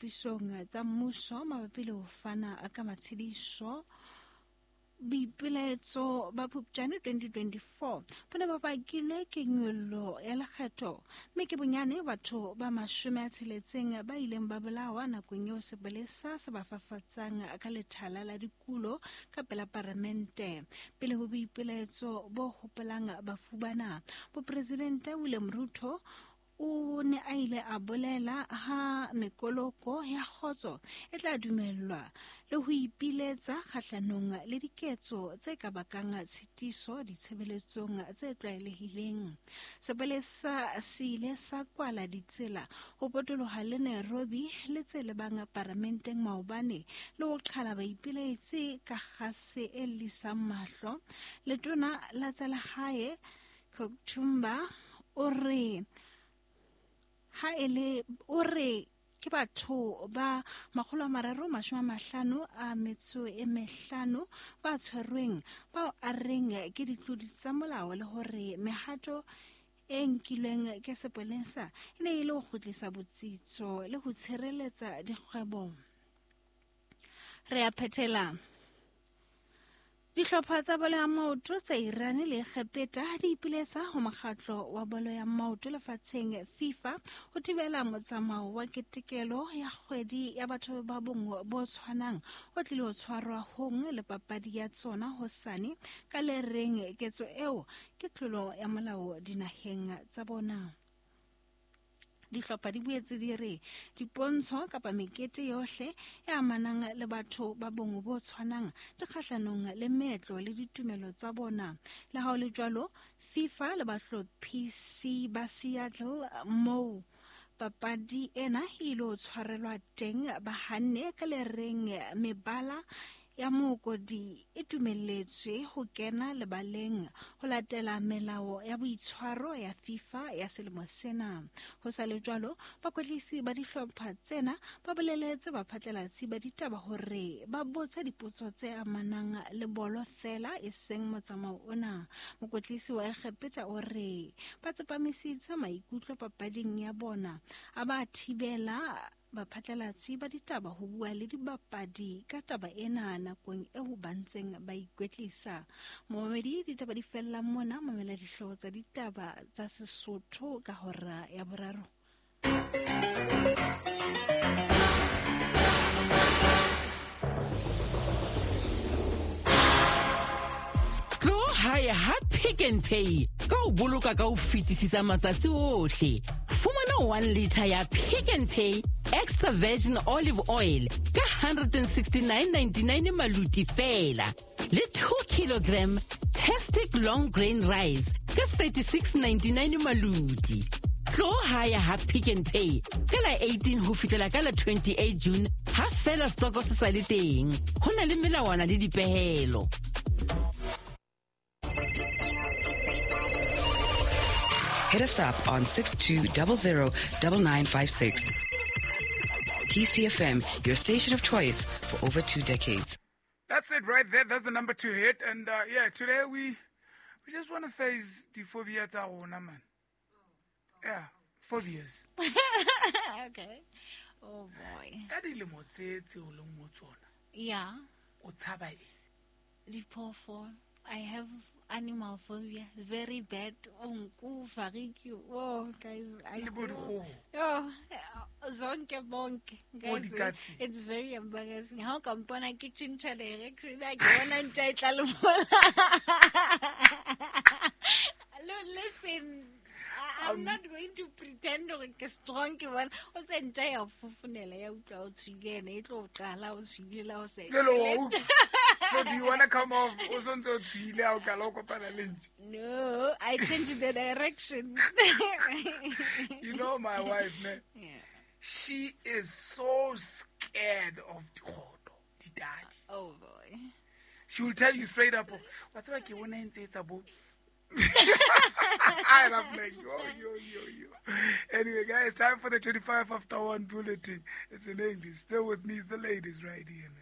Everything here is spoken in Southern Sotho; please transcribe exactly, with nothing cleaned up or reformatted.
Pisong tsa mmuso mabapi le ho fana ka matshediso. Boipilaetso ba Phupjane twenty twenty-four bo ne ba bakilwe ke nyollo ya lekgetho, mme ke bonyane batho ba mashome a tsheletseng ba ileng ba bolawa nakong eo sepolesa se ba fafatsang ka lethala la dikulo ka pela paramente. Pele ho boipilaetso bo hopolang bafu bana, Mopresidente William Ruto o ne a ile a bolela ha mekoloko ya kgotso e tla dumellwa le ho ipiletsa kgahlanong le diketso tse ka bakang tshitiso ditshebeletsong tse tlwaelehileng. Sepolesa se ile sa kwala ditsela ho potoloha le Nairobi le tse lebang paramenteng maobane le ho qhala baipiletsi ka kgase e llisang mahlo. Letona la tsa lehae Kipchumba o re ha ele o re ke batho ba makgolo a mararo mashome a mahlano a metso e mehlano ba tshwerweng bao a reng ke ditlodi tsa molao le hore mehato e nkilweng ke sepolesa e ne e le ho kgutlisa botsitso le ho tshireletsa dikgwebo. Re a phethela. Dihlopha tsa bolo ya maoto tsa Iran le Egepeta di ipiletsa ho mokgatlo wa bolo ya maoto lefatsheng FIFA ho thibela motsamao wa ketekelo ya kgwedi ya batho ba bong bo tshwanang o tlile ho tshwarwa hong le papadi ya tsona hosane ka le reng ketso eo ke tlolo ya molao dinaheng tsa bona. Dihlopha di boetse di re dipontsho kapa mekete yohle e amanang le batho ba bong bo tshwanang di kgahlanong le meetlo le ditumelo tsa bona. Le ha ho le jwalo, FIFA le bahlophisi ba Seattle moo papadi ena e ilo tshwarelwa teng ba hanne ka le reng mebala ya mookodi e dumelletswe ho kena lebaleng ho latela melao ya boitshwaro ya FIFA ya selemo sena. Ho sa le jwalo, bakwetlisi ba dihlopha tsena ba boleletse baphatlalatsi ba ditaba hore ba botse dipotso tse amanang le bolo fela e seng motsamao ona. Mokwetlisi wa Egepeta o re ba tsepamisitse maikutlo papading ya bona, a ba thibela baphatlalatsi ba ditaba ho bua le dibapadi ka taba ena nakong eo ba ntseng ba ikwetlisa. Momamedi, ditaba di fella mona. Mamela dihlooho tsa ditaba tsa Sesotho ka hora ya boraro. Tlo hae ha Pick n Pay ka ho boloka ka ho fetisisa matsatsi ohle. Fumana one liter ya Pick n Pay extra virgin olive oil ka one hundred sixty-nine ninety-nine maluti fela, le two kilogram Tastic long grain rice ka thirty-six ninety-nine maluti. Tlo hae ha Pick n Pay ka la eighteen ho fihlela ka la twenty-eight June ha fela stoko se sa le teng. Ho na le melawana le dipehelo. Hit us up on six two zero zero nine nine five six. P C F M, your station of choice for over two decades. That's it right there. That's the number to hit. And uh, yeah, today we we just want to face the phobia tsa rona, man. Yeah, phobias. Okay. Oh boy. Ka dilemo tse tse o leng mo tsona. Yeah. O tshaba eng? Diphoofolo. I have animal phobia, very bad. Nku, fariki. Oh, guys, I oh, zonke bonke. Guys, it's very embarrassing. How come pona ke tjhentjha direction? Ke bona ntja e tla le mola. Listen, I'm um, not going to pretend hore ke strong ke bona. O se ntja ya fofonela ya utlwa o tshwile ene e tlo qala o tshwile la o se. So do you want to come off o sontse o tshwile ha o qala o kopana le ntja? No, I changed the direction. You know my wife, ne? Yeah. She is so scared of dikgoto, didadi. Oh boy. She will tell you straight up, wa tseba ke bona ntse etsa bo. And I'm like, yo, yo, yo, yo. Anyway, guys, time for the twenty-five after one bulletin. It's in English. Still with me is the ladies right here, man.